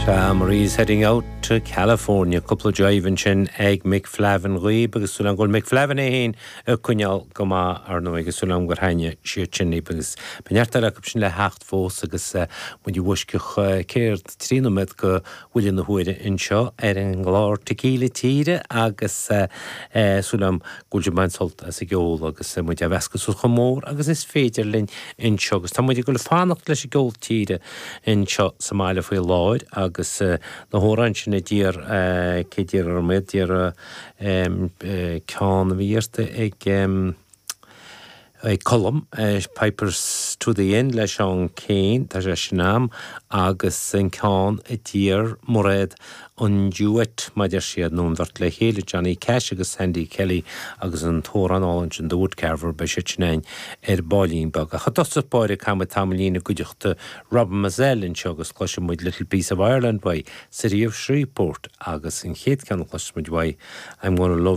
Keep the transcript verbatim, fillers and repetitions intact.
Sea Marie's heading out to California cúpla jive ansin ag Mick Flavin dhaoibh agus súil go bhfuil Mick Flavin é féin ag coinneáil go maith ar ndóigh agus súil gur thaitnigh siad sin libh agus beidh neart eile sin le theacht fós agus muid i bhfoisceacht céard trí nóiméad go bhfuil na huaire anseo ar an gclár Tequila Tíre agus súil agam go bhfuil sibh ag baint sult as an gceol agus muid á mheascadh suas chomh mór agus is féidir linn anseo agus tá muid ag dul fanacht leis an gceol tíre anseo sa mbaile faoi láthair agus na hamhráin sin a d'iarr cé d'iarr orm iad d'iarr ceann a bhí iarrta ag ag Colm Pipers to the Inn le Seán Keane tá sé sin am agus an ceann a d'iarr Mairéad an duet maidir siad nó an bheirt le chéile Johnny Cash agus Sandy Kelly agus an t-amhrán álainn sin The Woodcarver beidh sé sin ar baillín beag. Ach i dtosach báire caithfimid tamaillín i gcuideachta Rob Mazell anseo agus cloisfidh muid Little Piece of Ireland uaidh City of Shreveport agus an chéad cheann a chloisfimid uaidh I'm gonna love